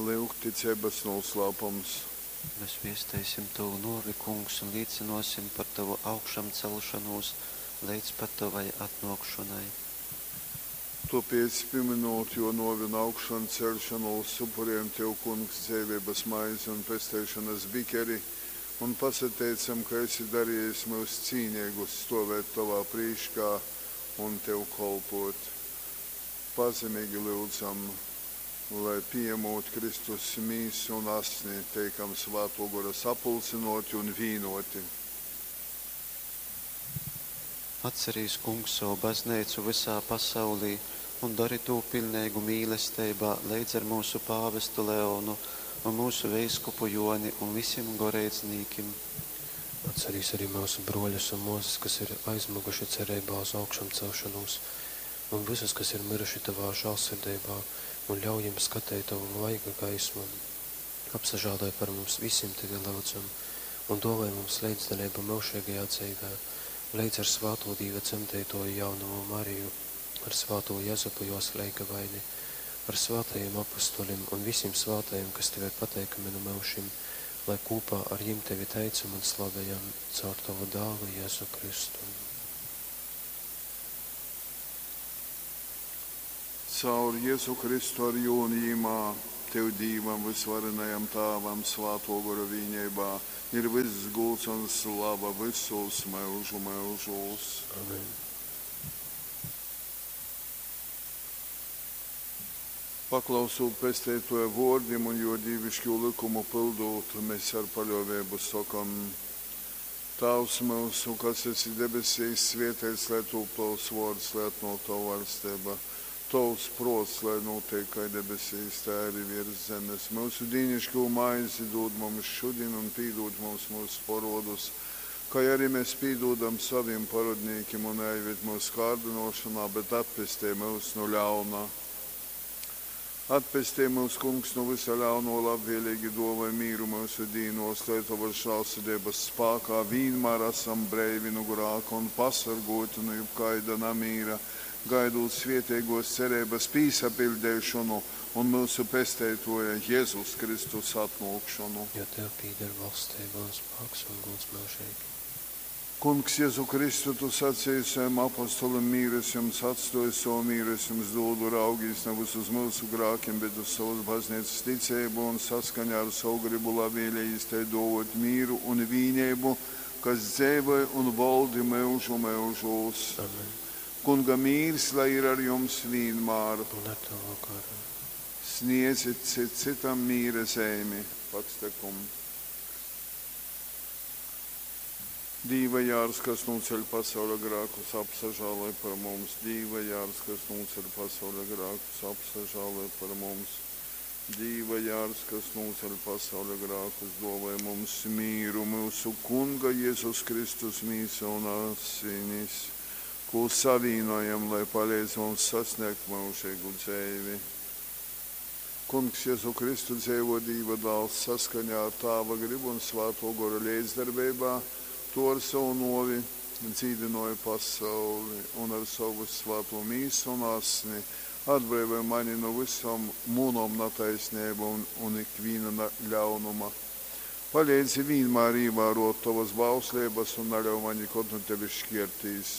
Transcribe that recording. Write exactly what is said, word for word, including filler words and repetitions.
Lyugticeibas nūslāpums. Mes viesteisim tovu nōvi, Kungs, un līcynōsim par tovu augšamceļšonūs leidz pat tovai atnōkšonai. Tōpēc, pimynūt Jō nōvi un augšanceļšonūs, upurejam Tev, Kungs, dzeiveibas maizi un pesteišonas bikeri un pasateicam, ka esi darejis myus cīneigus stōvēt Tovā prīškā un Tev kolpōt. Pazemeigi lyudzam, lai, pījamūt Kristus mīsu un asni, teikam Svātō Gora sapulcynōti un vīnōti. Atcerīs, Kungs, sovu bazneicu vysā pasaulī un dori tū piļneigu mīlesteibā leidz ar myusu pāvestu Leonu un myusu veiskupu Jōni un visim goreidznīkim. Atcerīs arī myusu brōļus un mōsas, kas ir aizmyguši cereibā uz augšamcelšonūs, un vysus, kas ir myruši tovā žālsirdeibā, un ļauj jim skateit tovu vaiga gaismu. Apsažāloj par mums visim, tevi lyudzam, un dōvoj mums leidzdaleibu myužeigajā dzeivē, leidz ar svātū Dīva dzemdeitōju jaunovu Mariju, ar svātū Jezupu jōs leigavaini, ar svātajim apustulim un visim svātajim, kas tev ir pateikami nu myužim, lai kūpā ar jim tevi teicam un slavejam caur tovu dālu Jezu Kristu. Caur Jezu Kristu ar jū un jimā, Tev, Dīvam vysvarenajam Tāvam, Svātō Gora vīneibā, ir vyss gūds un slava vysūs myužu myužūs. Amen. Paklausūt Pesteitōja vōrdim un Jō dīviškū lykumu pyldūt, mes ar paļōveibu sokam, Tāvs myusu, kas esi debesīs, svēteits lai tūp Tovs vōrds, lai atnōk Tova vaļsteiba. Tovs prōts lai nūteik kai debesīs, tai ari viers zemes. Myusu dīniškū maizi dūd mums šudin un pīdūd mums myusu porōdus, kai ari mes pīdūdam sovim porōdnīkim, un naīved myusu kārdynōšonā, bet atpestej myus nu ļauna. Atpestej myus, Kungs, nu vysa ļaunō, labvēlīgi dōvoj mīru myusu dīnōs, lai Tovas žālsirdeibas spākā vīnmār asam breivi nu grāka un pasorgōti nu jebkaida namīra, gaidūt svēteigōs cereibas pīsapiļdeišonu un myusu Pesteitōja Jezus Kristus atnōkšonu. Jo Tev pīder valsteiba un spāks un gūds myužeigi. Kungs Jezu Kristu, Tu saceji sovim apostolim, mīru es jums atstōju, sovu mīru es jums dūdu, raugīs navys uz myusu grākim, bet uz sovas bazneicas ticeibu un saskaņā ar sovu grybu labvēlejīs tai dōvōt mīru un vīneibu, kas dzeivoj un voldi myužu myužūs. Amen. Kunga mīrs lai ir ar jums vīnmār. Un ar tavu garu. Sniedzit cits cytam mīra zeimi. Pax tecum. Dīva jārs, kas nūceļ pasauļa grākus, apsažāloj par mums. Dīva jārs, kas nūceļ pasauļa grākus, apsažāloj par mums. Dīva jārs, kas nūceļ pasauļa grākus, dōvoj mums mīru, myusu Kunga Jezus Kristus mīsa un asinis, kū savīnojam, lai paleidz mums sasniegt myužeigu dzeivi. Kungs Jezu Kristu dzeivo Dīva dāls saskaņā ar Tāva gribu un Svātō Gora leidzdarbeibā, Tu ar sovu nōvi dzīdynōji pasauli un ar sovu vyssvātū mīsu un asni atbreivoj mani nu vysom munom nataisneibom un, un ikvīna ļaunuma. Paleidzi vīnmār īvārōt Tovas bausleibas un naļauj maņ nikod nu Tevis škiertīs.